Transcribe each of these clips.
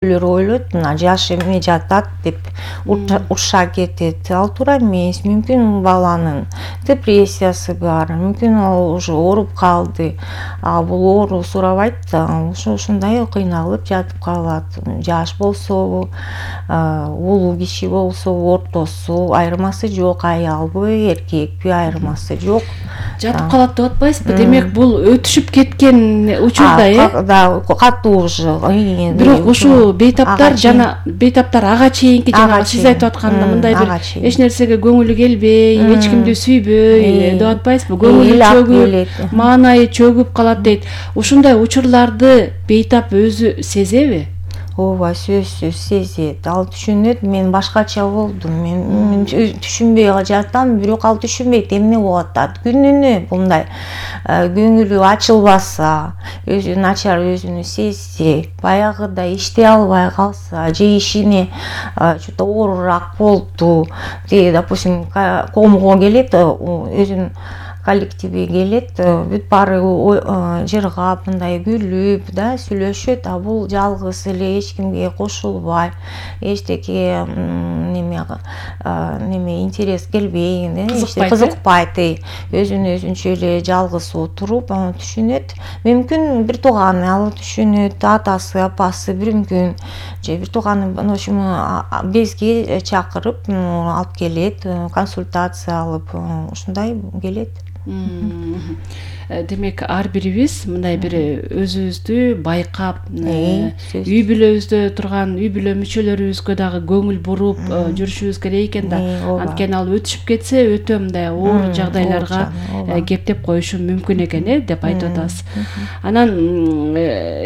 ойлойт мына жаш эме жатат деп урша кетет. Ал туура эмес. Мүмкүн баланын депрессиясы бар, мүмкүн ал уже ооруп калды. Бул оору сурабайт да, ушундай кыйналып жатып калат. Жаш болсобу, улуу киши болсобу, ортосу, айырмасы жок, аялбы, эркекпи, айырмасы жок. Жатып калат деп атпайсызбы? Демек бул өтүшүп кеткен учурда, да, катуу уже. Бирок ушул бейтаптар бейтаптар ага чейинки жана сиз айтып атканда мындай бир эч нерсеге көңүлү келбей, эч кимди сүйбөй деп атпайсызбы? Көңүлү чөгүп, маанайы чөгүп калат дейт. Ушундай учурларды бейтап өзү сезеби? Ооба, сөзсүз сезет. Ал түшүнөт, мен башкача болдум. Мен түшүнбөй жатам, бирок ал түшүнбөйт эмне болуп атат. Күнүнө мындай көңүлү ачылбаса, өзү начар өзүнү сезсе, баягыдай иштей албай калса, же ишине что-то оорураак болду, допустим, комго келет, өзүнүн коллективи келет, бүт баары жыргап, мындай күлүп да сүйлөшөт, бул жалгыз эле эч кимге кошулбай, эчтеке неме интерес келбей, кызыкпайт, өзүнө өзүнчө эле жалгыз отуруп түшүнөт. Мүмкүн бир тууганы ал түшүнөт, атасы, апасы бир мүмкүн, же бир тууганы безге чакырып алып келет, консультация алып, ушундай келет. Демек ар бирибиз мындай бир өзүбүздү байкап, үй бүлөбүздө турган үй бүлө мүчөлөрүбүзгө дагы көңүл буруп жүрүшүбүз керек экен да. Анткени ал өтүшүп кетсе өтө мындай оор жагдайларга кептеп коюшу мүмкүн экен, деп айтып атасыз. Анан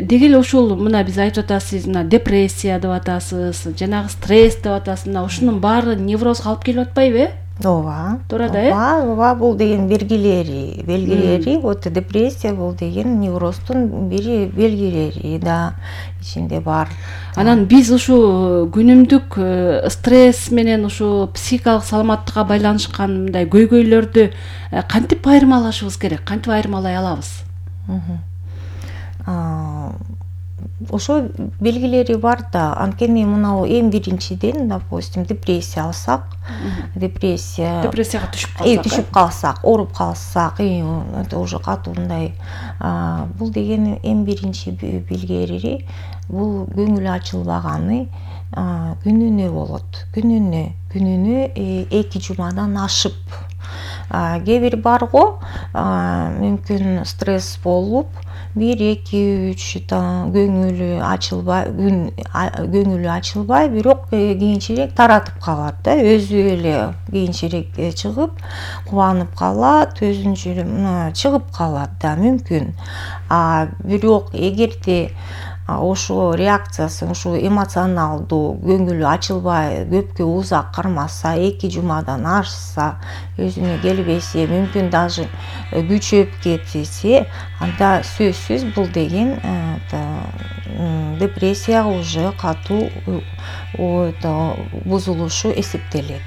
деги эле ушул мына биз айтып атасыз, мына депрессия деп атасыз, жанагы стресс деп атасыз, мына ушунун баары неврозго алып келип атпайбы? Ооба. Туура да, ооба, бул деген белгилери, вот депрессия бул деген невроздун бири белгилери да ичинде бар. Анан биз ушу күнүмдүк стресс менен ушу психикалык саламаттыкка байланышкан мындай көйгөйлөрдү кантип айырмалашыбыз керек? Кантип айырмалай алабыз? Ошо белгилери бар да. Анткени мына эң биринчиден, допустим, депрессия алсак, депрессияга түшүп калсак, ооруп калсак, это уже катуу мындай, бул деген эң биринчи белгилери, бул көңүлү ачылбаганы күнүнө болот. Күнүнө 2 жумадан ашып. Кээ бир бар го, мүмкүн стресс болуп 1-2-3 көңүлү ачылбай, бирок кийинчерээк таратып калат да, өзү эле кийинчерээк чыгып, кубанып калат, өзүнчө эле чыгып калат да, мүмкүн. Бирок эгерде ошо реакциясы, ушу эмоционалдуу көңүлү ачылбай, көпкө узак кармаса, 2 жумадан ашса, өзүнө келбесе, мүмкүн даже күчөп кетсе, анда сөзсүз бул деген депрессияга уже катуу бузулушу эсептелет.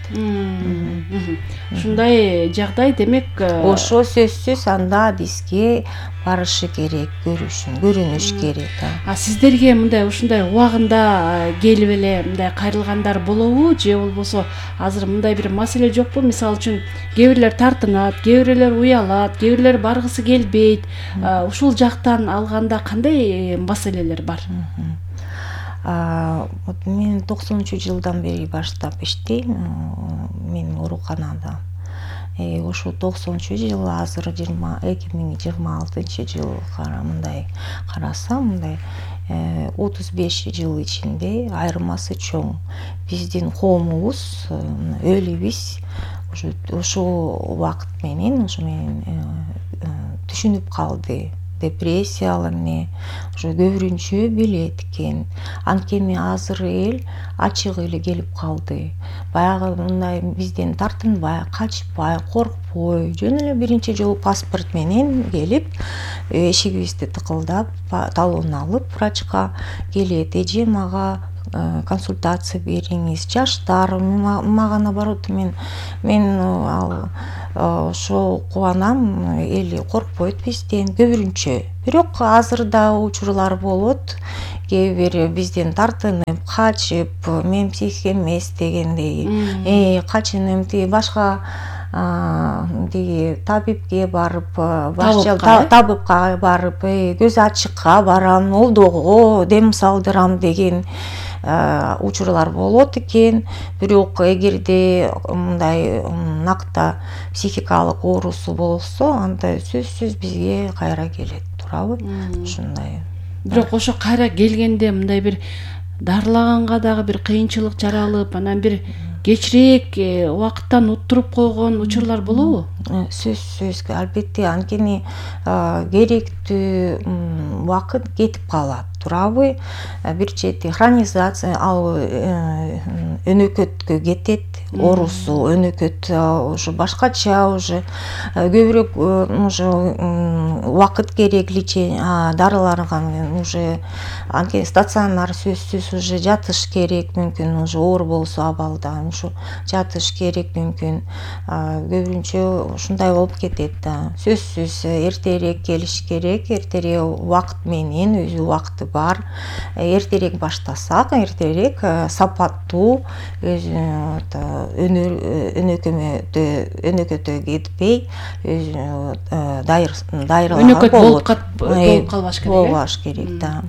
Ушундай жагдай демек ошо сөзсүз анда бизге барышы керек, көрүнүш керек. Сиздерге мындай ушундай убагында келип эле мындай кайрылгандар болобу, же болбосо азыр мындай бир маселе жокпу? Мисалы үчүн кээ бирлер тартынат, кээ бирлер уялат, кээ бирлер баргысы келбейт. Ушул жактан алганда кандай маселелер бар? Мен 90-жылдан бери баштап иштейм, мен ооруканада. Ошо 90-жыл, азыр 2026-жыл мындай карасам, мындай 35 жыл ичинде айырмасы чоң. Биздин коомубуз, элибиз ошо убакыт менен түшүнүп калды. Депрессиялар уже көбүрүнчө билет экен. Анткени азыр эл ачык эле келип калды. Баягы мындай бизден тартынбай, качпай, коркпой, жөн эле биринчи жолу паспорт менен келип, эшигибизди тыкылдап, талон алып врачка келет. Эже мага консультация бериңиз. Жаштар мага наоборот, мен ошо кубанам, эл коркпойт бизден, көбүрүнчө Бирок азыр да учурлар болот, кээ бир бизден тартынып качып, мен психик эмес дегендей, качынып тиги башка тиги табибке барып, табипка барып, көз ачыкка барам, олдого дем салдырам деген учурлар болот экен. Бирок эгерде мындай накта психикалык оорусу болсо, анда сөзсүз бизге кайра келет, туурабы? Ушундай. Бирок ошо кайра келгенде мындай бир дарылаганга дагы бир кыйынчылык жаралып, анан бир кечирээк убакыттан уттуруп койгон учурлар болобу? Сөзсүз, албетте, анткени керектүү убакыт кетип калат, туурабы? Бир чети хронизация, ал өнөкөткө кетет, оорусу өнөкөт уже башкача, уже көбүрөөк уже убакыт керек, лечение дарыларга уже анткени стационар сөзсүз уже жатыш керек, мүмкүн уже оор болсо абалда ушу жатыш керек, мүмкүн көбүнчө ушундай болуп кетет да. Сөзсүз эртерээк келиш керек, эртерээк убакыт менен, өзү убакыты бар. Эртерээк баштасак, эртерээк сапаттуу, өнөкөтө кетпей, дайырланып болуп калбаш керек. Болбаш керек да.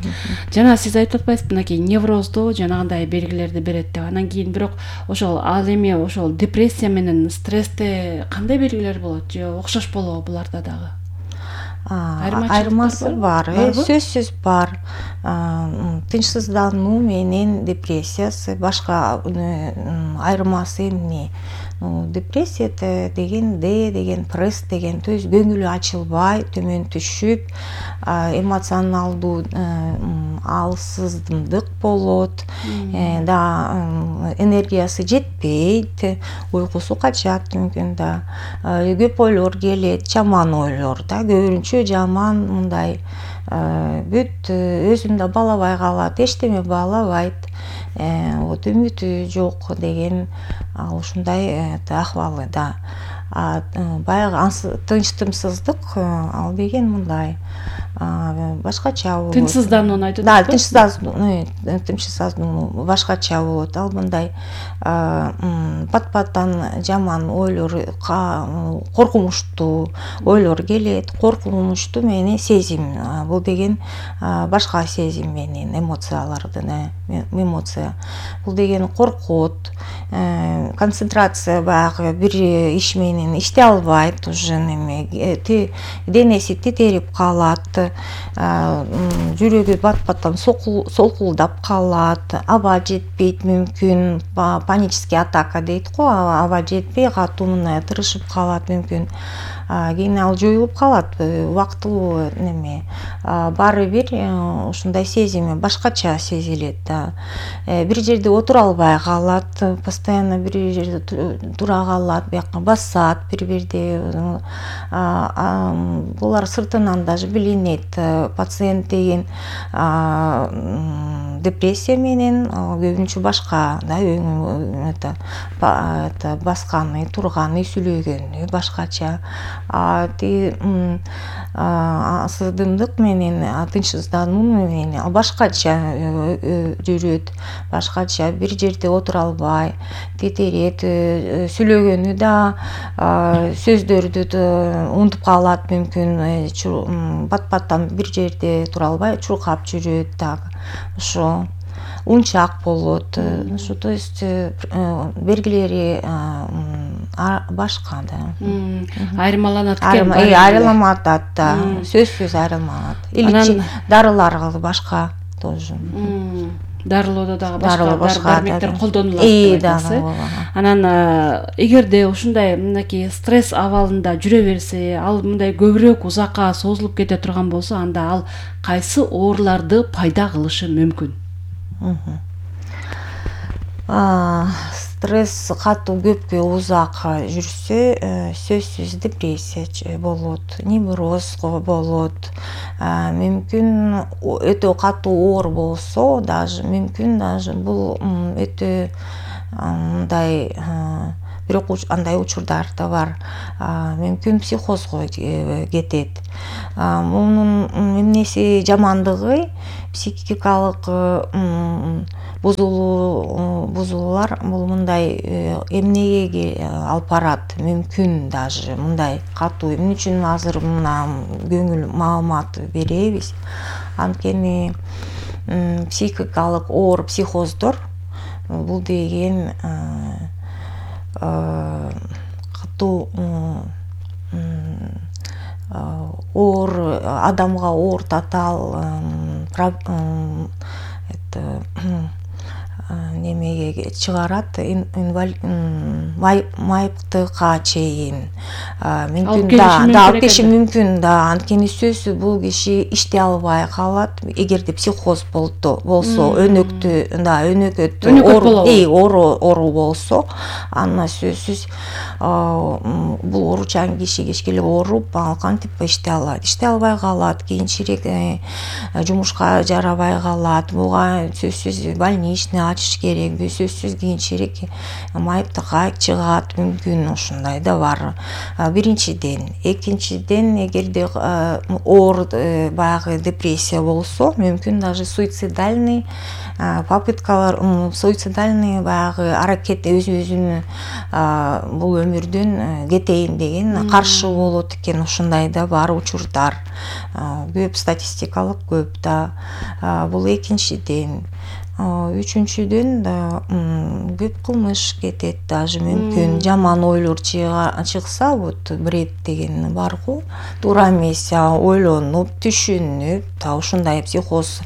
Жана сиз айтып атпайсызбы, мынакей неврозду жанагындай белгилерди берет деп. Анан кийин бирок ошол ал эми ошол депрессия менен стрессте кандай белгилер болот? Же окшош болобу буларда дагы? Айырмасы бар, сөзсүз бар. Тынчсыздануу менен депрессиясы башка айырмасы эмне? Депрессия деген деген пресс деген, то есть көңүлү ачылбай, төмөн түшүп, эмоционалдуу алсыздык болот, энергиясы жетпейт, уйкусу качат, мүмкүн да, көп ойлор келет, жаман ойлор да, көбүнчө жаман, мындай бүт өзүн да баалабай калат, эчтеме баалабайт, үмүтү жок деген ушундай акыбалы да. Баягы тынчтымсыздык, ал деген мындай башкача болот. Тынчсызданууну айтып атасыз? Да, тынчсыздануу башкача болот. Ал мындай пат-паттан жаман ойлор, коркунучтуу ойлор келет, коркунучтуу менен сезим. Бул деген башка сезим менен, эмоциялардын, эмоция. Бул деген коркот, концентрация баягы бир иш менен иштей албайт, уже денеси титирип калат, жүрөгү бат-баттан солкулдап калат, аба жетпейт, мүмкүн панический атака дейт го, аба жетпей катуу мындай тырышып калат, мүмкүн кийин ал жоюлуп калат, убактылуу неме. Баары бир ушундай сезими башкача сезилет да. Бир жерде отура албай калат, постоянно бир жерде тура калат, бияка басат бир-бирди. Булар сыртынан даже билинет. Пациент деген депрессия менен көбүнчө башка да, басканы, турганы, сүйлөгөнү башкача. Асыздымдык менен, тынчсыздануу менен башкача жүрөт, башкача бир жерде отура албай, титирет, сүйлөгөнү да, сөздөрдү унутуп калат, мүмкүн бат-баттан бир жерде тура албай чуркап жүрөт дагы. Ошо унчак болот. Ошо, то есть белгилери башка да. Айырмаланат экен. Айырмаланат да, сөзсүз айырмаланат. Или дарылар башка тоже. Дарылоодо дагы башка дармектер колдонулат деп айтасыз. Анан эгерде ушундай мынакей стресс абалында жүрө берсе, ал мындай көбүрөөк узакка созулуп кете турган болсо, анда ал кайсы ооруларды пайда кылышы мүмкүн? Стресс катуу көпкө узак жүрсө, сөзсүз депрессия болот, невроз болот, мүмкүн өтө катуу оор болсо, даже мүмкүн даже бул өтө мындай бирок андай учурдар да бар. Мүмкүн психозго кетет. Мунун эмнеси жамандыгы психикалык бузулуулар бул мындай эмнеге алып барат, мүмкүн даже мындай катуу. Эмне үчүн азыр мына көңүл маалымат беребиз? Анткени психикалык оор психоздор бул деген катуу оор адамга оор татаал немеге чыгарат, майыптыкка чейин мүмкүн алып келиши мүмкүн да. Анткени сөзсүз бул киши иштей албай калат. Эгерде психоз болсо, өнөкөттү оору болсо, анда сөзсүз бул ооручан киши кечке ооруп, кантип иштей алат, иштей албай калат, кийинчерээк жумушка жарабай калат. Буга сөзсүз больничный ачыш керек, сөзсүз кийинчерээк майыптыкка чыгат, мүмкүн ушундай да бар. Биринчиден. Экинчиден, эгерде оор баягы депрессия болсо, мүмкүн даже суицидальный попыткалар, суицидальный баягы аракет өзүн бул өмүрдөн кетейин деген каршы болот экен. Ушундай да бар учурдар. Көп, статистикалык көп да. Бул экинчиден. Үчүнчүдөн да көп кылмыш кетет, даже мүмкүн жаман ойлор чыкса, вот бред деген барго, туура эмес ойлонуп, түшүнүп, ушундай психоз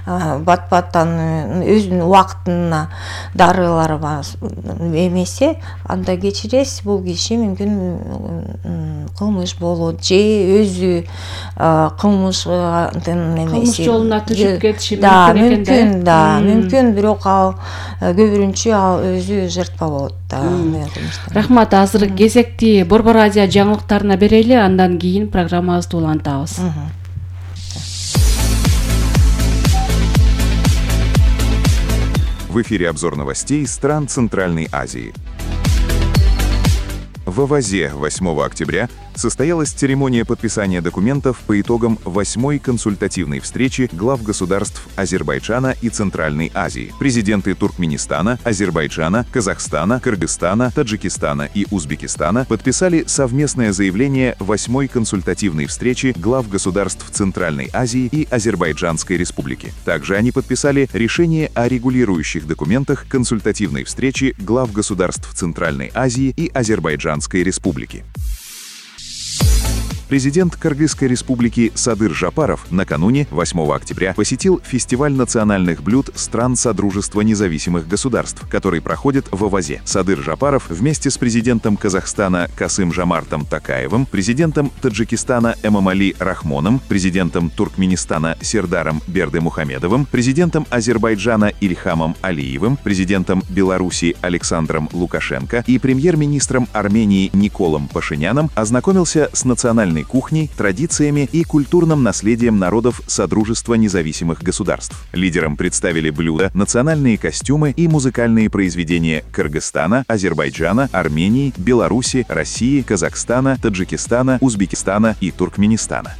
бат-баттан өзүнүн убактына дарылар эмесе, анда кечиресиз, бул киши мүмкүн кылмыш болот же өзү кылмыш жолуна түшүп кетиши мүмкүн экен да. Мүмкүн, бирок ал көбүрүнчө ал өзү жертва болот да. Рахмат. Азыр кезекти Борбор Азия жаңылыктарына берели, андан кийин программабызды улантабыз. В эфире обзор новостей стран Центральной Азии. В Авазе 8 октября состоялась церемония подписания документов по итогам 8-й консультативной встречи глав государств Азербайджана и Центральной Азии. Президенты Туркменистана, Азербайджана, Казахстана, Кыргызстана, Таджикистана и Узбекистана подписали совместное заявление 8-й консультативной встречи глав государств Центральной Азии и Азербайджанской Республики. Также они подписали решение о регулирующих документах консультативной встречи глав государств Центральной Азии и Азербайджанской Республики. Президент Кыргызской республики Садыр Жапаров накануне 8 октября посетил фестиваль национальных блюд стран Содружества независимых государств, который проходит в Авазе. Садыр Жапаров вместе с президентом Казахстана Касым-Жомартом Токаевым, президентом Таджикистана Эмомали Рахмоном, президентом Туркменистана Сердаром Бердымухамедовым, президентом Азербайджана Ильхамом Алиевым, президентом Беларуси Александром Лукашенко и премьер-министром Армении Николом Пашиняном ознакомился с национальной кухней, традициями и культурным наследием народов Содружества независимых государств. Лидерам представили блюда, национальные костюмы и музыкальные произведения Кыргызстана, Азербайджана, Армении, Беларуси, России, Казахстана, Таджикистана, Узбекистана и Туркменистана.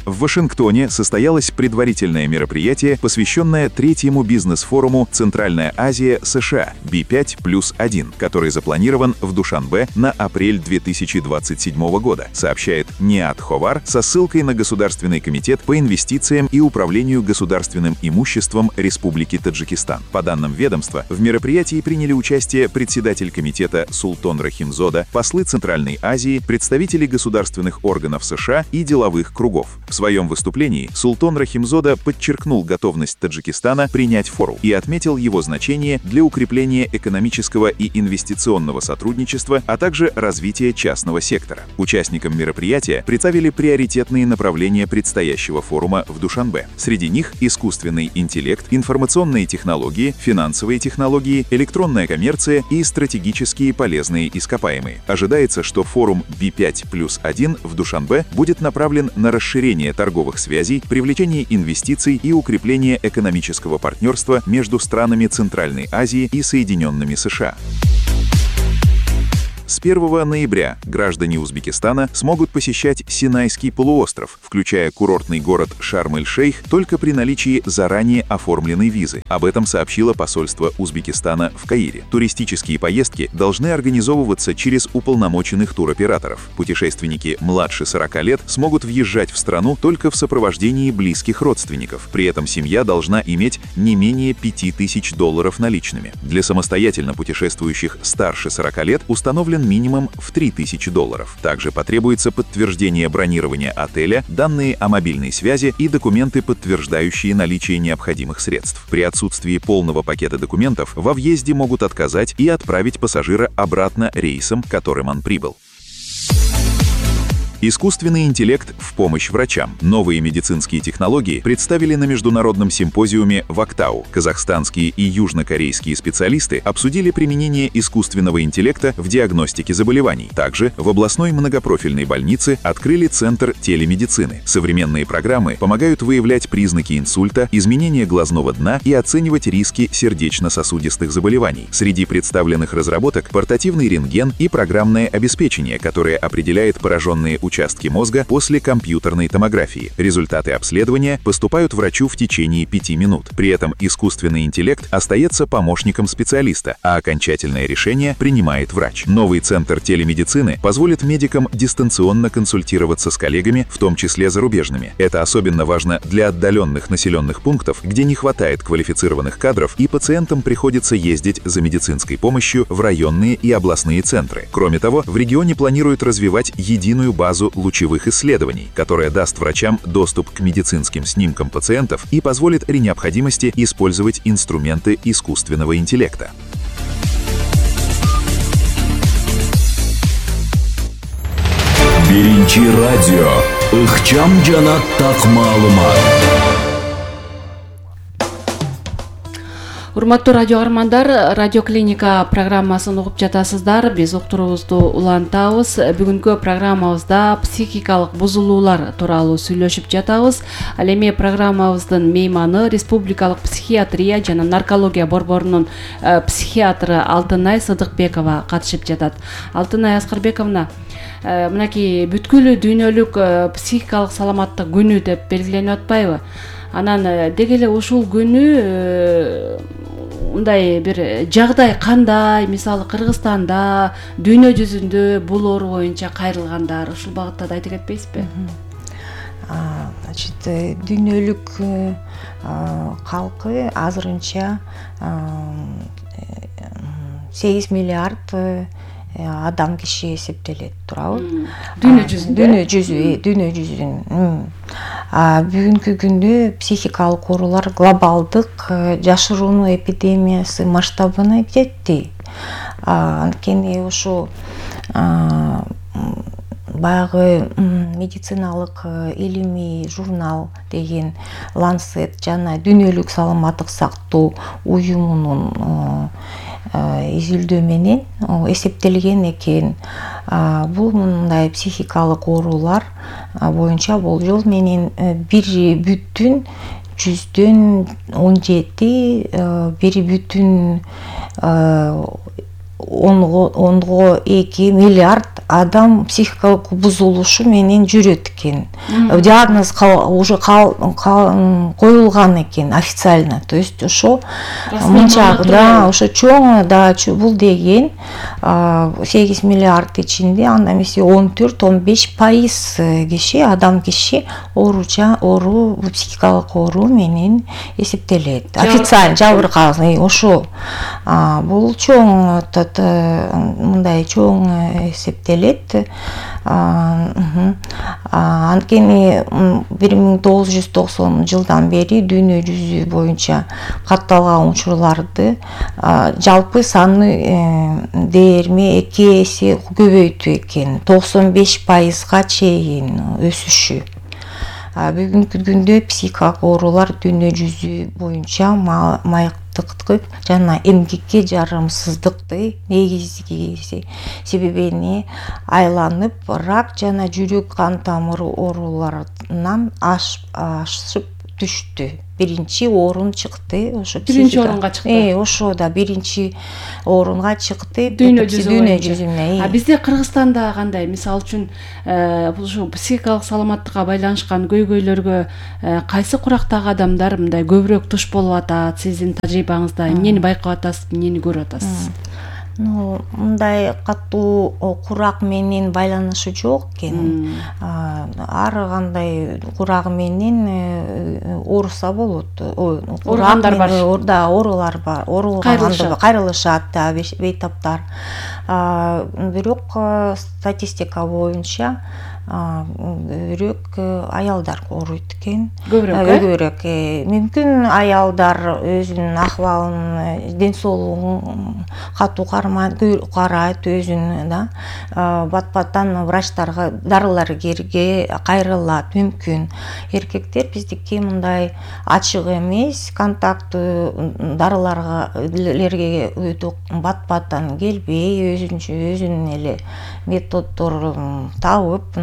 В Вашингтоне состоялось предварительное мероприятие, посвященное третьему бизнес-форуму «Центральная Азия США» B5+1, который запланирован в Душанбе на апрель 2027 года, сообщает Ниат Ховар со ссылкой на Государственный комитет по инвестициям и управлению государственным имуществом Республики Таджикистан. По данным ведомства, в мероприятии приняли участие председатель комитета Султон Рахимзода, послы Центральной Азии, представители государственных органов США и деловых кругов. В своем выступлении Султон Рахимзода подчеркнул готовность Таджикистана принять форум и отметил его значение для укрепления экономического и инвестиционного сотрудничества, а также развития частного сектора. Участникам мероприятия представили приоритетные направления предстоящего форума в Душанбе. Среди них искусственный интеллект, информационные технологии, финансовые технологии, электронная коммерция и стратегические полезные ископаемые. Ожидается, что форум B5+1 в Душанбе будет направлен на расширение торговых связей, привлечение инвестиций и укрепление экономического партнерства между странами Центральной Азии и Соединенными США. С 1 ноября граждане Узбекистана смогут посещать Синайский полуостров, включая курортный город Шарм-эль-Шейх, только при наличии заранее оформленной визы. Об этом сообщило посольство Узбекистана в Каире. Туристические поездки должны организовываться через уполномоченных туроператоров. Путешественники младше 40 лет смогут въезжать в страну только в сопровождении близких родственников. При этом семья должна иметь не менее $5000 наличными. Для самостоятельно путешествующих старше 40 лет установлен минимум в $3000. Также потребуется подтверждение бронирования отеля, данные о мобильной связи и документы, подтверждающие наличие необходимых средств. При отсутствии полного пакета документов во въезде могут отказать и отправить пассажира обратно рейсом, которым он прибыл. Искусственный интеллект в помощь врачам. Новые медицинские технологии представили на международном симпозиуме в Актау. Казахстанские и южнокорейские специалисты обсудили применение искусственного интеллекта в диагностике заболеваний. Также в областной многопрофильной больнице открыли центр телемедицины. Современные программы помогают выявлять признаки инсульта, изменения глазного дна и оценивать риски сердечно-сосудистых заболеваний. Среди представленных разработок портативный рентген и программное обеспечение, которое определяет пораженные участки мозга после компьютерной томографии. Результаты обследования поступают врачу в течение 5 минут. При этом искусственный интеллект остается помощником специалиста, а окончательное решение принимает врач. Новый центр телемедицины позволит медикам дистанционно консультироваться с коллегами, в том числе зарубежными. Это особенно важно для отдаленных населенных пунктов, где не хватает квалифицированных кадров, и пациентам приходится ездить за медицинской помощью в районные и областные центры. Кроме того, в регионе планируют развивать единую базу лучевых исследований, которая даст врачам доступ к медицинским снимкам пациентов и позволит при необходимости использовать инструменты искусственного интеллекта. Биринчи радио ыкчам жана так маалымат. Урматтуу радио армандар, радио клиника программасын угуп жатасыздар. Биз уктуруубузду улантабыз. Бүгүнкү программабызда психикалык бузулуулар тууралуу сүйлөшүп жатабыз. Ал эми программабыздын мейманы республикалык психиатрия жана наркология борборунун психиатры Алтынай Сыдыкбекова катышып жатат. Алтынай Аскарбековна, мынакей бүткүлүү дүйнөлүк психикалык саламаттык күнү деп белгиленип атпайбы? Анан деги эле ушул күнү мындай бир жагдай кандай, мисалы Кыргызстанда, дүйнө жүзүндө бул оору боюнча кайрылгандар, ушул багытта да айтып кетпейсизби? Значит, дүйнөлүк калкы азырынча 8 миллиард адам киши эсептелет турабы? Дүйнө жүзүнөн. Бүгүнкү күндө психикалык оорулар глобалдык жашырууну эпидемиясы масштабына жетти. Анткени ушу баягы медициналык илимий журнал деген Lancet жана дүйнөлүк саламаттык сактоо уюмунун изилдөө менен эсептелген экен. Бул мындай психикалык оорулар боюнча болжол менен 1,17 1,2 миллиард адам психикалык бузулушу менен жүрөт экен. Диагноз уже коюлган экен официально. То есть ошо мынча, да, ошо чоң, да, бул деген 8 миллиард ичинде анда эмесе 14-15% киши, адам киши оору, психикалык оору менен эсептелет. Официально жабыркаган ошо. Бул чоң мындай чоң эсептелет. Анткени 1990 жылдан бери дүйнө жүзү боюнча катталган учурларды жалпы саны дээрлеми 2 эсе көбөйтүү экен, 95%га чейин өсүшү. Бүгүнкү күндө психикалык оорулар дүйнө жүзү боюнча майыктык жана эмгекке жарамсыздыкты негизги себебине айланып, рак жана жүрөк кан тамыры ооруларынан ашып түштү. биринчи орун чыкты. Ошо биринчи орунга чыкты. Ошо да биринчи орунга чыкты дүйнө жүзүнө. А бизде Кыргызстанда кандай? Мисалы үчүн ушу психикалык саламаттыкка байланышкан көйгөйлөргө кайсы курактагы адамдар мындай көбүрөөк туш болуп атат? Сиздин тажрыйбаңызда эмнени байкап атасыз, эмнени көрүп атасыз? Мындай катуу курак менен байланышы жок экен. Ар кандай курак менен ооруса болот. Ооругандар бар. Да, оорулар бар. Кайрылышат да бейтаптар. Бирок статистика боюнча көбүрөөк аялдар ооруйт экен. Көбүрөөк. Мүмкүн аялдар өзүнүн акыбалын, ден соолугун катуу карайт өзүн да. Бат-баттан врачтарга дарылар керге кайрылат мүмкүн. Эркектер биздики мындай ачык эмес, контакттуу дарыларга өтө бат-баттан келбей, өзүнүн эле методдорун табып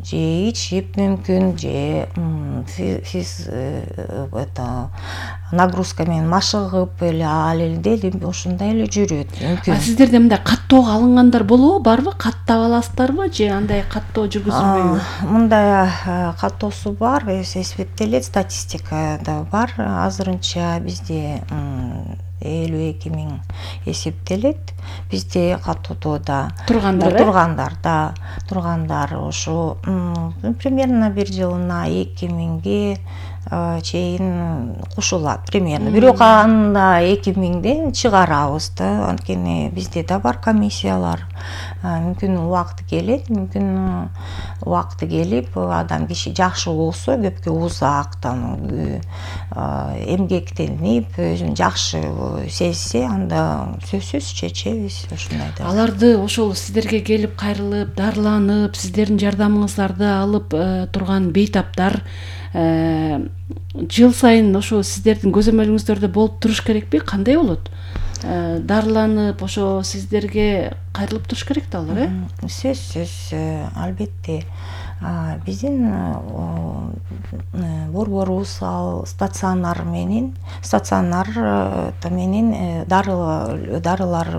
же ичип мүмкүн, же нагрузка менен машыгып эле ал эле ошондой эле жүрөт мүмкүн. Сиздерде мындай каттоого алынгандар болобу, барбы? Каттап аласыздарбы же андай каттоо жүргүзүлбөйбү? Мындай каттоосу бар, эсептелет, статистикада бар. Азырынча бизде 52 000 эсептелет. Бизде каттоодо тургандар ошо примерно бир жылына 2000ге чейин кошулат примерно. Бирок анда 2000ден чыгарабыз да. Анткени бизде да бар комиссиялар. Мүмкүн убакыты келет, мүмкүн убакыты келип, адам киши жакшы болсо, көпкө узактан эмгектенип, өзүн жакшы сезсе, анда сөзсүз чечебиз ошондой да. Аларды ошол сиздерге келип кайрылып, дарыланып, сиздердин жардамыңыздарды алып турган бейтаптар жыл сайын ошо сиздердин көзөмөлүңүздөрдө болуп туруш керекпи? Кандай болот? Дарыланып, ошо сиздерге кайрылып туруш керек да алар, Сөзсүз, албетте. Биздин борборубуз стационар менен дарылар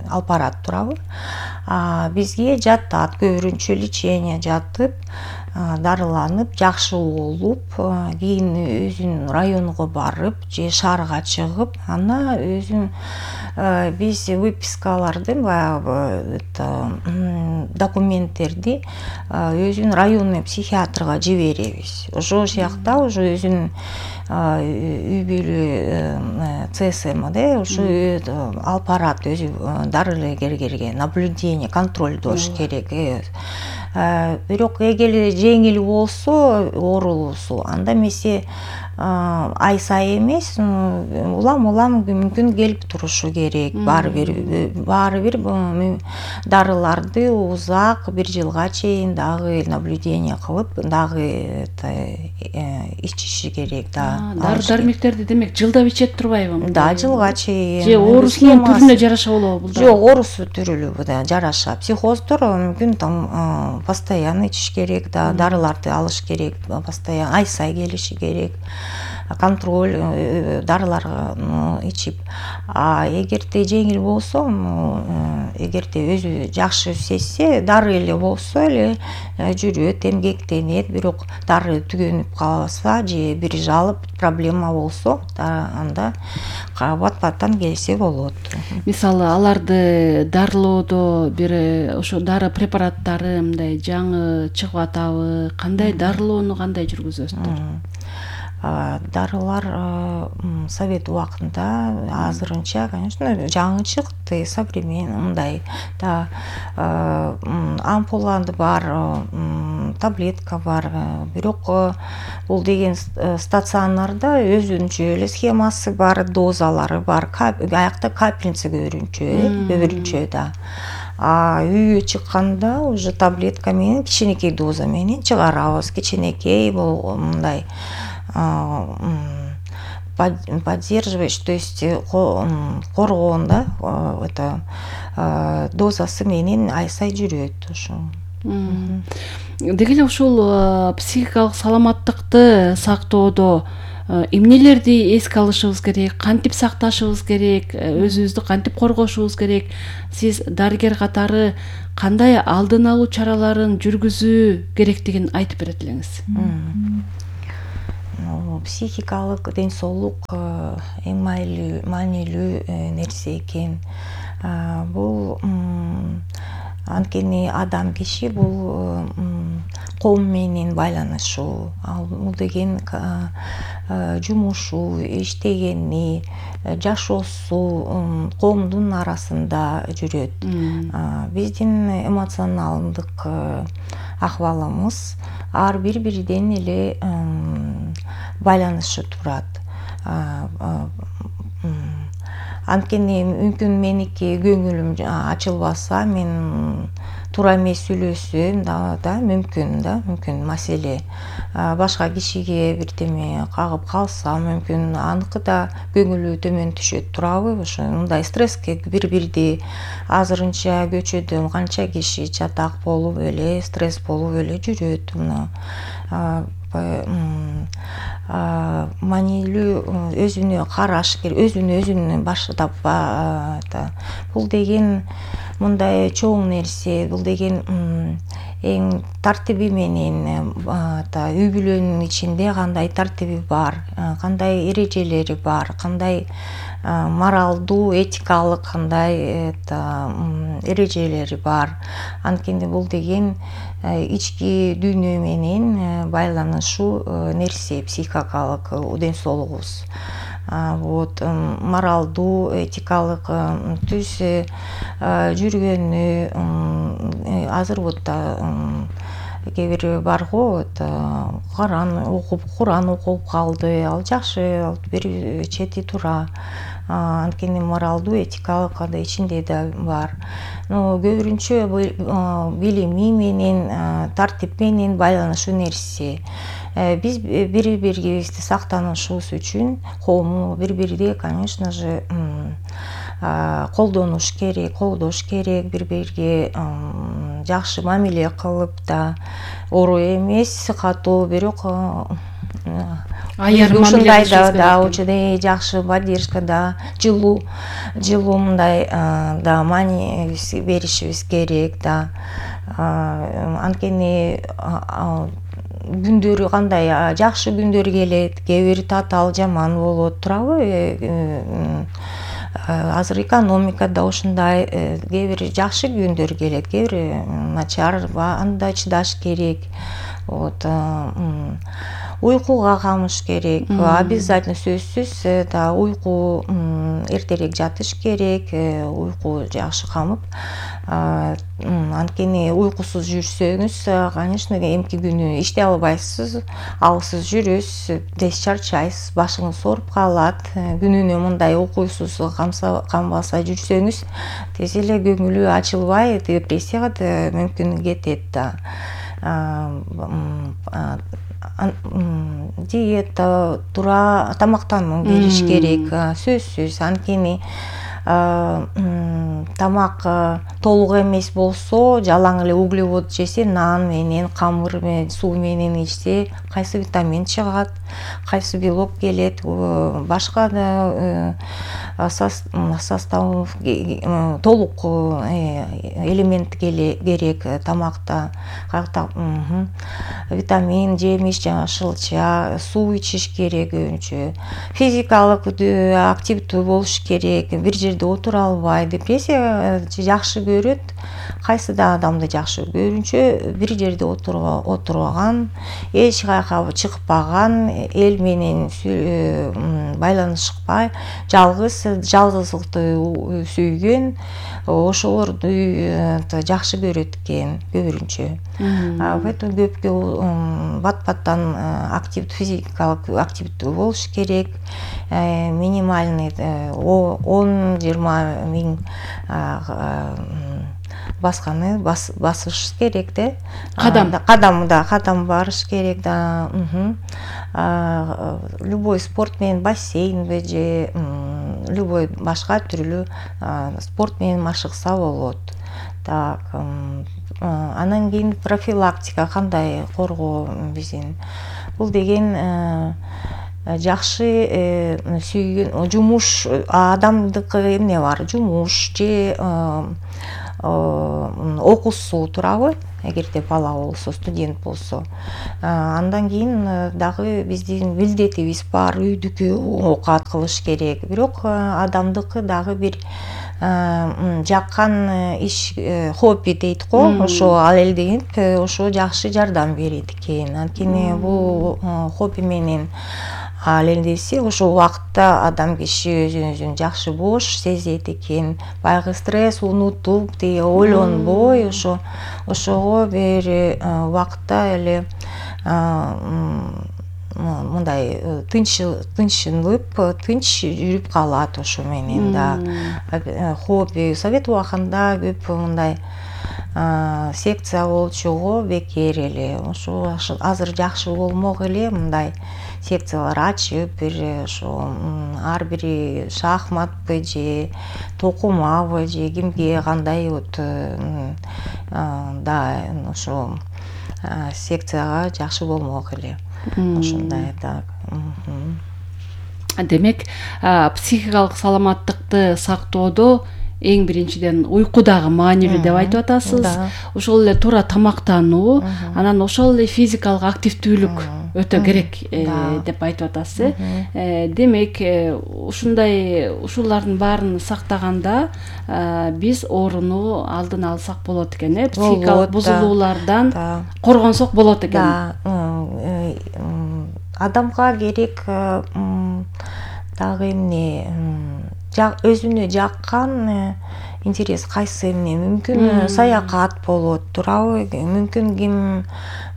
алып барат турабы. Бизге жаттат, көбүрүнчө лечение жатып, дарыланып, жакшы болуп, кийин өзүнүн районуга барып, же шаарга чыгып, ана өзүн биз выпискаларды, баягы документтерди өзүнүн районный психиатрга жиберебиз. Ошол жакта уже өзүнүн үй бүлө ЦСМде ошо алып барат, өзү дарыгерге наблюдение, контролдош керек. Бирок эгер жеңил болсо оорусу, анда эмесе ай сайын эмес, улам мүмкүн келип турушу керек. Баары бир дарыларды узак бир жылга чейин дагы наблюдение кылып, дагы ичиши керек да. Дары-дармектерди демек жылдап ичет турбайбы? Да, жылга чейин. Же оорусунун түрүнө жараша болобу бул? Жок, оорусу түрүлү да жараша. Психоздор мүмкүн там постоянно ичиш керек да, дарыларды алыш керек, постоянно ай сайын келиши керек. Контроль дарыларга ичип. Эгерде жеңил болсо, эгерде өзү жакшы сезсе, дары эле болсо эле жүрөт, эмгектенет. Бирок дары түгөнүп калса же бир жалып проблема болсо, анда бат-баттан келсе болот. Мисалы, аларды дарылоодо бир ошо дары препараттары мындай жаңы чыгып атабы? Кандай дарылоону кандай жүргүзөсүздөр? Дарылар совет убактында азырынча, конечно, жаңы чыкты, современный мындай да, ампуланды бар, таблетка бар. Бирок бул деген стационарда өзүнчө эле схемасы бар, дозалары бар. Аякта капельница көбүрүнчө да. Үйгө чыкканда уже таблетка менен, кичинекей доза менен чыгарабыз. Кичинекей бул мындай поддерживаешь, то есть коргоон да, это дозасы менен ай сайын жүрөт ошо. Деги эле ушул психикалык саламаттыкты сактоодо эмнелерди эске алышыбыз керек, кантип сакташыбыз керек, өзүбүздү кантип коргошубуз керек? Сиз дарыгер катары кандай алдын алуу чараларын жүргүзүү керектигин айтып берет элеңиз. Психикалык ден соолук эң маанилүү нерсе экен. Бул анткени адам киши бул коом менен байланышуу, бул деген жумушу, иштегени, жашоосу коомдун арасында жүрөт. Биздин эмоционалдык акыбалыбыз ар бири-бириден эле байланышы турат. Анткени мүмкүн меники көңүлүм ачылбаса, мен туура эмес сүйлөсөм да мүмкүн маселе. Башка кишиге бирдеме кагып калса, мүмкүн аныкы да көңүлү төмөн түшөт турабы? Ошо мындай стресске бири-бирди азырынча көчөдө канча киши чатак болуп эле, стресс болуп эле жүрөт. Маанилүү өзүнө караш керек, өзүн баштап бул деген мындай чоң нерсе, бул деген эң тартиби менен үй бүлөнүн ичинде кандай тартиби бар, кандай эрежелери бар, кандай моралдуу, этикалык кандай эрежелери бар. Анткени бул деген ички дүйнө менен байланышуу нерсе, психикалык ден соолугубуз. Моралдуу, этикалык түз жүргөнү азыр кээ бир бар го, Куран окуп калды, ал жакшы, бир чети тура. Анткени моралдуу, этикалык андай ичинде да бар. Көбүнчө билими менен, тартип менен байланышуу нерсе. Биз бири-бирибизди сактанышыбыз үчүн коомду бири-бирди, конечно же, колдош керек, бири-бириге жакшы мамиле кылып да, ору эмес, катуу, бирок ушундай да жакшы поддержка да, жылуу мындай да маани беришибиз керек да. Анткени күндөрү кандай жакшы күндөр келет, кээ бир татаал жаман болот турабы? Азыр экономикада ушундай, кээ бир жакшы күндөр келет, кээ бир начар, анда чыдаш керек. Уйкуга камыш керек, обязательно сөзсүз да уйку, эртерээк жатыш керек, уйку жакшы камып. Анткени уйкусуз жүрсөңүз, конечно, эмки күнү иштей албайсыз, алсыз жүрөсүз, тез чарчайсыз, башыңыз ооруп калат. Күнүнө мындай уйкусуз канбаса жүрсөңүз, тез эле көңүлү ачылбай, депрессияга да мүмкүн кетет да. Диета, туура тамактануу бериш керек, сөзсүз. Анткени тамак толук эмес болсо, жалаң эле углевод жесе, нан менен, камыр менен, суу менен ичсе, кайсы витамин чыгат, кайсы белок келет, башка да состав толук элемент керек тамакта. Витамин, жемиш, жашылча, суу ичиш керек көбүнчө. Физикалык активдүү болуш керек, бир жерде отура албай. Депрессия жакшы көрөт, кайсы да адамды жакшы көбүнчө бир жерде отурган, эч кайка чыкпаган, эл менен байланышпай, жалгыздыкты сүйгөн, ошолорду жакшы көрөт экен көбүнчө. Поэтому көпкө бат-баттан физикалык активдүү болуш керек. Минимальный 10-20 миң басканы басыш керек да. Кадам барыш керек да. Любой спорт менен, бассейн же любой башка түрлүү спорт менен машыкса болот. Так, Анан кийин профилактика кандай коргоо биздин. Бул деген жакшы сүйгөн жумуш, адамдыкы эмне бар, жумуш же окуусу туурабы, эгерде бала болсо, студент болсо. Андан кийин дагы биздин милдетибиз бар, үйдүкү оокат кылыш керек. Бирок адамдыкы дагы бир жаккан иш, хобби дейт го, ошо ал элденип, ошо жакшы жардам берет экен. Анткени бул хобби менен ал элдесе, ошол убакытта адам киши өзүн жакшы бош сезет экен. Баягы стресс унутуп, ойлонбой, ошого бир убакытта эле мындай тынчынып, тынч жүрүп калат ошо менен да. Хобби совет убагында көп мындай секция болчу го, бекер эле. Ошо азыр жакшы болмок эле мындай секциялар ачып, бир ошо ар бири шахматпы же токумабы же кимге кандай да ошо секцияга жакшы болмок эле. Ошондой так. Демек, психикалык саламаттыкты сактоодо эң биринчиден уйку дагы маанилүү деп айтып атасыз. Ошол эле туура тамактануу, анан ошол эле физикалык активдүүлүк өтө керек деп айтып атасыз. Демек, ушулардын баарын сактаганда биз ооруну алдын алсак болот экен, психикалык бузулуулардан коргонсок болот экен. Адамга керек дагы эмне, өзүнө жаккан интерес кайсы эмне, мүмкүн саякат болот, туурабы? Мүмкүн ким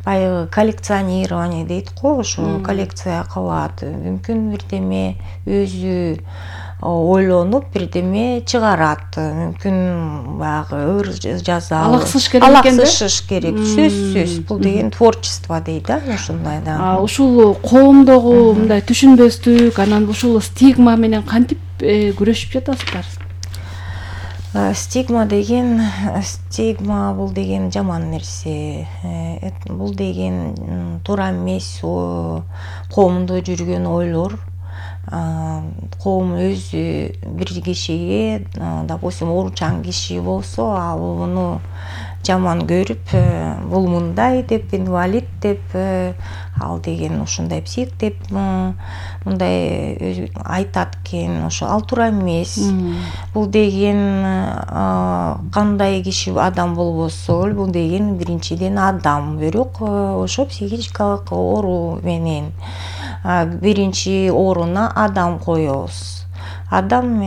баягы коллекционирование дейт го, ошо коллекция кылат. Мүмкүн бирдеме өзү ойлонуп бирдеме чыгарат. Мүмкүн баягы ыр жаза, алаксыш керек экен да. Алаксыш керек, сөзсүз. Бул деген творчество дейт да, ошондой да. Ушул коомдогу мындай түшүнбөстүк, анан ушул стигма менен кантип күрөшүп жатасыздар? Стигма бул деген жаман нерсе. Бул деген туура эмес коомдо жүргөн ойлор. Коом өзү бир кишиге, допустим, ооручан киши болсо, ал муну жаман көрүп, бул мындай деп, инвалид деп, ал деген ушундай псих деп мындай айтат экен. Ошо ал туура эмес. Бул деген кандай киши адам болбосо, бул деген биринчиден адам. Бирок ошо психическалык оору менен биринчи орунда адам коебуз. Адам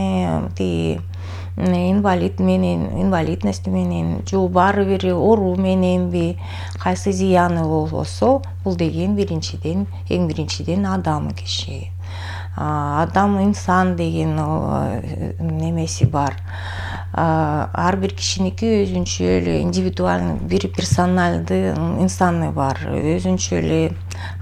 инвалидность менен, же баары бир оору мененби, кайсы зыяны болбосо, бул деген эң биринчиден адам киши. Адам, инсан деген немеси бар. Ар бир кишиники өзүнчө эле индивидуальный, бир персоналдуу инсаны бар. Өзүнчө эле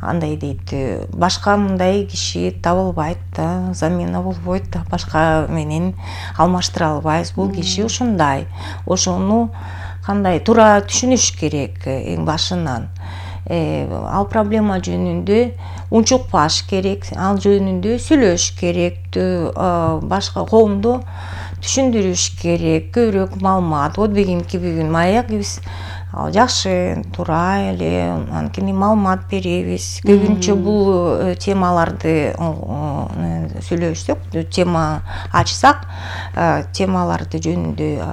андай дейт, башка мындай киши табылбайт да, замена болбойт да, башка менен алмаштыра албайбыз. Бул киши ушундай. Ошону кандай туура түшүнүш керек эң башынан. Ал проблема жөнүндө унчукпаш керек, ал жөнүндө сүйлөш керек, башка коомду түшүндүрүш керек, көбүрөөк маалымат. Вот бүгүн маяк биз жакшы туура эле анткени маалымат беребиз. Көбүнчө бул темаларды сүйлөшсөк, тема ачсак, темаларды жөнүндө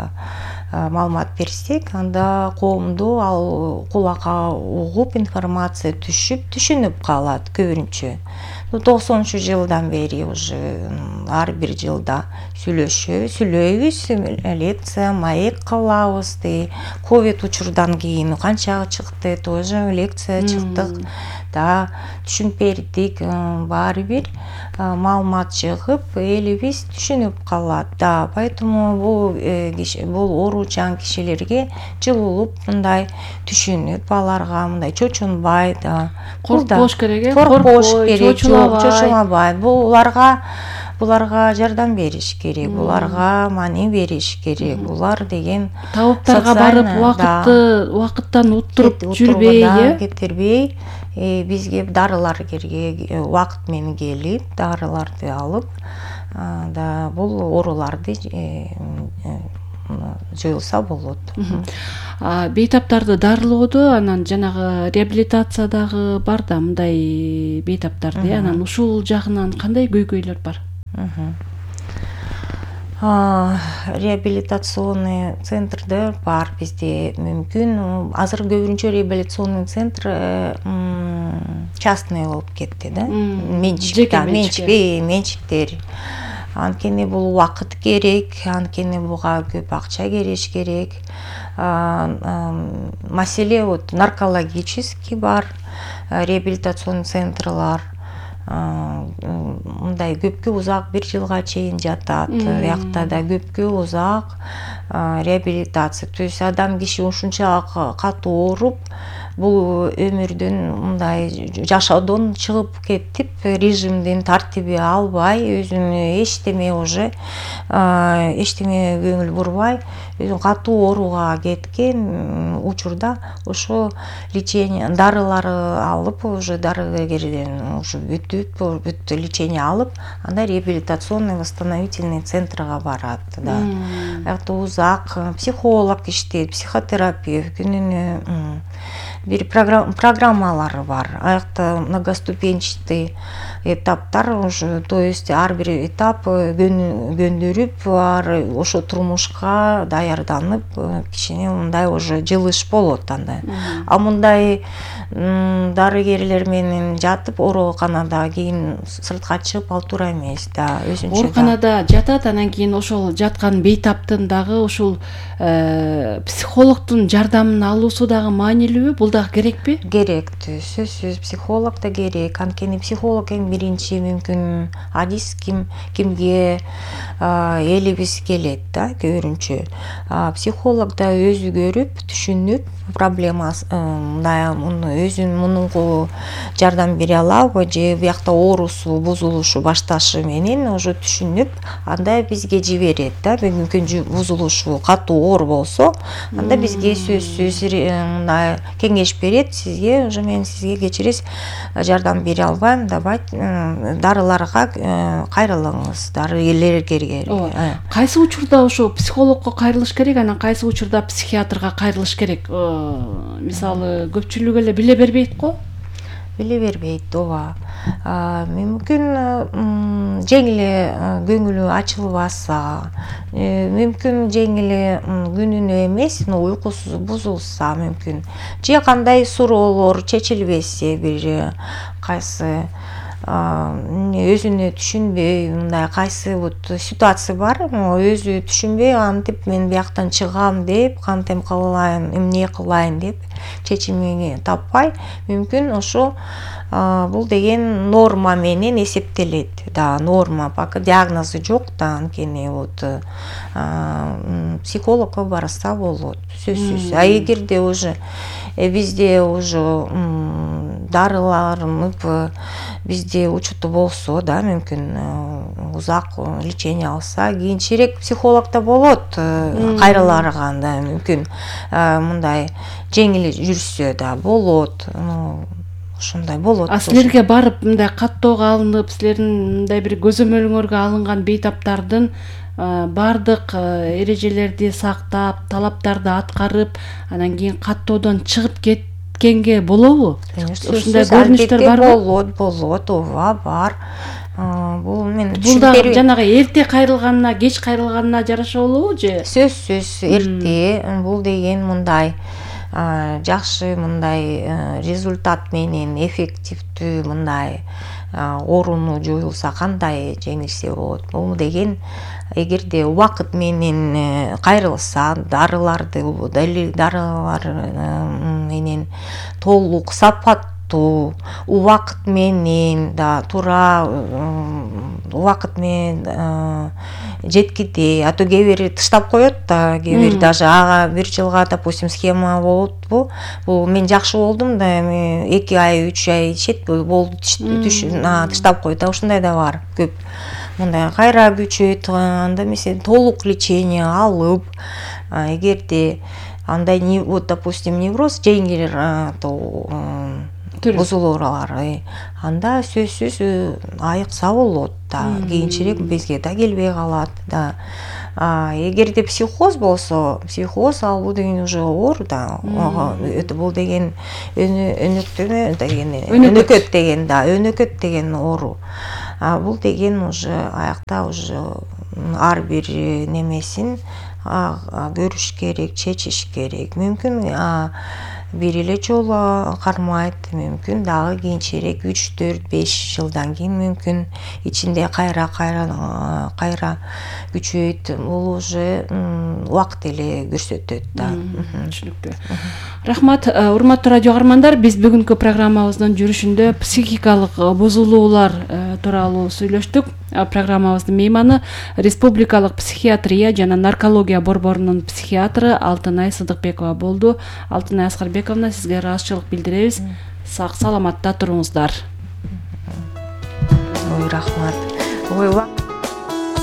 маалымат берсек, анда коомду ал кулакка угуп, информация түшүп, түшүнүп калат көбүнчө. 90 жылдан бери уже ар бир жылда сүйлөйбүз, лекция, маек кылабыз. Ковид учурдан кийин канча чыкты, тоже лекция чыктык. Да, түшүнүп бердик, баары бир маалымат чыгып, элибиз түшүнүп калат. Да, поэтому бул ооручан кишилерге жылуулук мындай түшүнүп, аларга мындай чочунбай, да. Коркпош керек, чочулабай. Буларга буларга жардам бериш керек, буларга маани бериш керек. Булар деген табыптарга барып убакыттан уттуруп жүрбөй, кетирбей, бизге дарылар керек, убакыт менен келип, дарыларды алып, да бул ооруларды жоюлса болот. Бейтаптарды анан жанагы реабилитация дагы бар да, мындай бейтаптарды, анан ушул жагынан кандай көйгөйлөр бар? Реабилитационный центрдер бар бизде, мүмкүн азыр көбүнчө реабилитационный центр частный болуп кетти да, менчиктер. Анткени бул убакыт керек, анткени буга көп акча керек. Маселе наркологический бар, реабилитационный центрлар. Мындай көпкө узак 1 жылга чейин жатат. Биякта да көпкө узак реабилитация. То есть адам киши ушунча катуу ооруп, бул өмүрдөн мындай жашоодон чыгып кетип, режимдин тартиби албай, өзүнө эчтеме көңүл бурбай, өзүн катуу ооруга кеткен учурда ошо лечение дарылары алып, уже дарыгерден уже бүт лечение алып, анда реабилитационный восстановительный центрга барат. Аякта узак психолог иштейт, психотерапевт, күнүнө бир программалары бар. Аякта многоступенчатый этаптар уже, то есть ар бир этап көндүрүп, ошо турмушка даярданып, кичине мындай уже жылыш болот анда. А мындай дарыгерлер менен жатып, ооруканада кийин сыртка чыгып ал туура эмес да, өзүнчө. Ооруканада жатат, анан кийин ошол жаткан бейтаптын дагы ушул психологдун жардамын алуусу дагы маанилүүбү? Бул дагы керекпи? Керек, сөзсүз психолог да керек. Анткени психолог эң биринчи мүмкүн адис кимге элибиз келет да, көбүнчө. Психолог да өзү көрүп, түшүнүп, проблемасын өзүн мунуңку жардам бере алабы, же биякта оорусу бузулушу башташы менен уже түшүнүп, анда бизге жиберет да. Мүмкүн бузулушу катуу оор болсо, анда бизге сөзсүз мындай кеңеш берет, сизге уже мен сизге кечиресиз, жардам бере албайм, давай дарыларга кайрылыңыз, дарыгерлерге. Кайсы учурда ошо психологко кайрылыш керек, анан кайсы учурда психиатрга кайрылыш керек? Мисалы, көпчүлүк эле биле бербейт го? Биле бербейт, ооба. Мүмкүн жеңил көңүлү ачылбаса, мүмкүн жеңил күнүнө эмес, уйкусу бузулса мүмкүн. Же кандай суроолор чечилбесе, бир кайсы өзүнө түшүнбөй, мындай кайсы ситуация бар, өзү түшүнбөй, антип мен бияктан чыгам деп, кантем кылайын, эмне кылайын деп чечимин таппай, мүмкүн ошо бул деген норма менен эсептелет да, норма, пока диагнозу жок да, анткени психологко барса болот, сөзсүз. А эгерде уже бизде уже дарыларынып бизде учуту болсо да, мүмкүн узак лечение алса, кийинчерээк психологда болот, кайрылаганда мүмкүн мындай жеңил жүрсө да болот, ушундай болот. А силерге барып мындай каттоого алынып, силердин мындай бир көзөмөлүңөргө алынган бейтаптардын бардык эрежелерди сактап, талаптарды аткарып, анан кийин каттоодон чыгып кеткенге болобу? Ушундай көрүнүштөр барбы? Болот, ооба, бар. Бул мен бул дагы жанагы эрте кайрылганына, кеч кайрылганына жараша болобу же? Сөзсүз эрте. Бул деген мындай жакшы мындай результат менен эффективдүү мындай ооруну жоюлса кандай жеңилсе болот. Бул деген эгерде убакыт менен кайрылса, дарылар менен толук сапаттуу, убакыт менен да туура убакыт менен жеткиде, а то кээ бири тыштап коет да, кээ бири даже ага 1 жылга, допустим, схема болупу, бул мен жакшы болдум да, 2 ай 3 ай ичет болду, тыштап коет да, ушундай да бар көп. мындай кайра күчөйт, анда мисалы толук лечение алып, эгерде андай вот допустим невроз жеңил бузулуулар, анда сөзсүз айыкса болот да, кийинчерээк бизге да келбей калат да. Эгерде психоз болсо, психоз ал бул деген уже оор да. Бул деген өнөкөт деген да, өнөкөт деген оору. Бул деген уже аякта уже ар бир немесин көрүш керек, чечиш керек. Мүмкүн бир эле жолу кармайт, мүмкүн дагы кийинчерээк 3-4-5 жылдан кийин мүмкүн ичинде кайра күчөйт. Бул уже убакыт эле көрсөтөт да. Түшүнүктүү. Рахмат, урматтуу радио каармандар, биз бүгүнкү программабыздын жүрүшүндө психикалык бузулуулар тууралуу сүйлөштүк. Программабыздын мейманы Республикалык психиатрия жана наркология борборунун психиатры Алтынай Сыдыкбекова болду. Алтынай Аскарбековна, сизге ыраазычылык билдиребиз. Сак саламатта туруңуздар. Рахмат.